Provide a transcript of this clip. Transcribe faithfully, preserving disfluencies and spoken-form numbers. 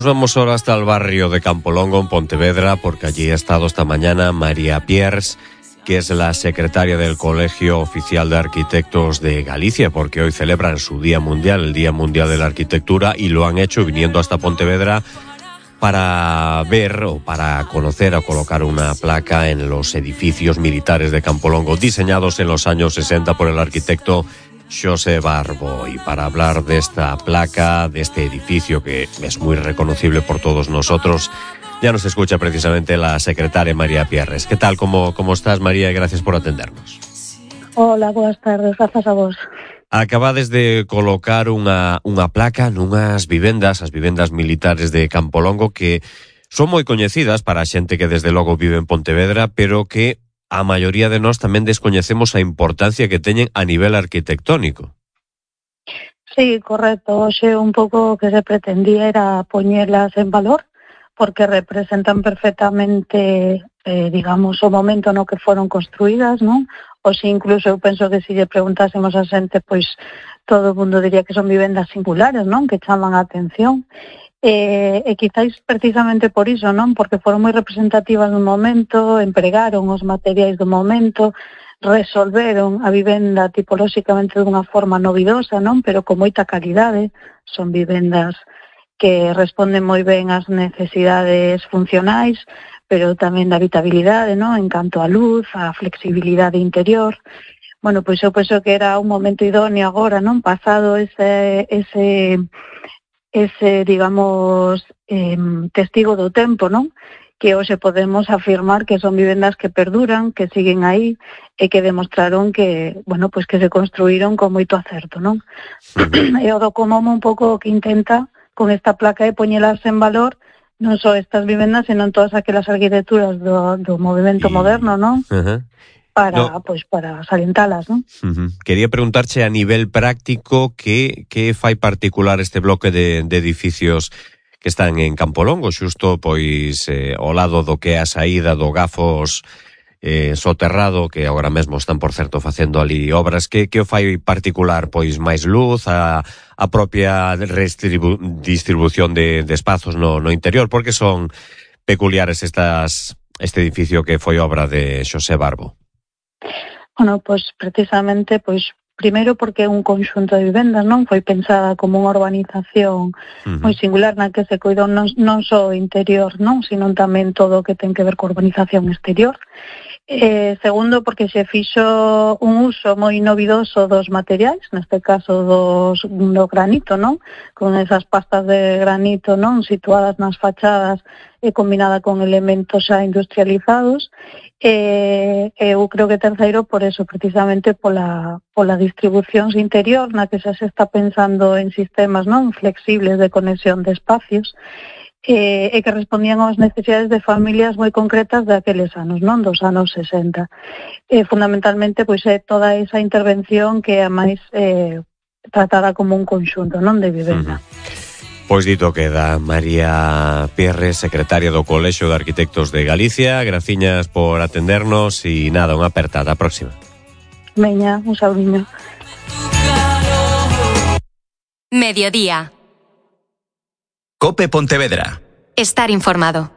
Nos vamos ahora hasta el barrio de Campolongo, en Pontevedra, porque allí ha estado esta mañana María Pierres, que es la secretaria del Colegio Oficial de Arquitectos de Galicia, porque hoy celebran su Día Mundial, el Día Mundial de la Arquitectura, y lo han hecho viniendo hasta Pontevedra para ver o para conocer o colocar una placa en los edificios militares de Campolongo, diseñados en los años sesenta por el arquitecto Xosé Barbo. Y para hablar de esta placa, de este edificio que es muy reconocible por todos nosotros, ya nos escucha precisamente la secretaria María Pierres. ¿Qué tal? ¿Cómo, cómo estás, María? Y gracias por atendernos. Hola, boas tardes, grazas a vos. Acabades de colocar unha, unha placa nunhas vivendas, as vivendas militares de Campolongo, que son moi coñecidas para a xente que desde logo vive en Pontevedra, pero que a maioría de nós tamén descoñecemos a importancia que teñen a nivel arquitectónico. Sí, correcto. Hoxe un pouco o que se pretendía era poñelas en valor, porque representan perfectamente, eh, digamos, o momento no que foron construídas, non? Oxe, incluso eu penso que se lle preguntásemos a xente, pois todo o mundo diría que son vivendas singulares, non? Que chaman a atención. E, e quizáis precisamente por iso, non? Porque foron moi representativas no momento, empregaron os materiais do momento, resolveron a vivenda tipolóxicamente dunha forma novidosa, non? Pero con moita calidade. Son vivendas que responden moi ben ás necesidades funcionais, pero tamén da habitabilidade, non? En canto á luz, á flexibilidade interior. Bueno, pois eu penso que era un momento idóneo agora, non? Pasado ese ese ese, digamos, eh, testigo do tempo, non? Que hoxe podemos afirmar que son vivendas que perduran, que siguen aí e que demostraron que, bueno, pois que se construíron con moito acerto, non? Uh-huh. E o do Comomo un pouco o que intenta con esta placa de poñelas en valor non só estas vivendas, senón todas aquelas arquitecturas do, do movimento y... moderno, non? Uh-huh. Para, no. Pois, para salientalas, non? Uh-huh. Quería preguntarche a nivel práctico que, que fai particular este bloque de, de edificios que están en Campolongo, xusto pois eh, ao lado do que é a saída do Gafos eh, soterrado, que agora mesmo están, por certo, facendo ali obras. Que, que o fai particular? Pois máis luz, a, a propia redistribu- distribución de, de espazos no, no interior, porque son peculiares estas, este edificio que foi obra de Xosé Barbo. Bueno, pois precisamente, pois primeiro porque é un conxunto de vivendas, non? Foi pensada como unha urbanización uh-huh. moi singular na que se cuidou non, non só o interior, non? Sino tamén todo o que ten que ver con urbanización exterior. Eh, segundo, porque se fixo un uso moi novidoso dos materiais, neste caso dos, do granito, non? Con esas pastas de granito, non? Situadas nas fachadas e combinada con elementos xa industrializados. E eh, eu creo que terceiro por eso, precisamente pola, pola distribución interior na que xa se está pensando en sistemas non flexibles de conexión de espacios e, e que respondían ás necesidades de familias moi concretas daqueles anos, non dos anos sesenta. E, fundamentalmente, pois é toda esa intervención que é máis eh, tratada como un conxunto non de vivenda. Uh-huh. Pois dito queda, María Pierres, secretaria do Colexio de Arquitectos de Galicia. Graciñas por atendernos e nada, unha apertada. A próxima. Veña, un saudiño. Mediodía. Cope Pontevedra. Estar informado.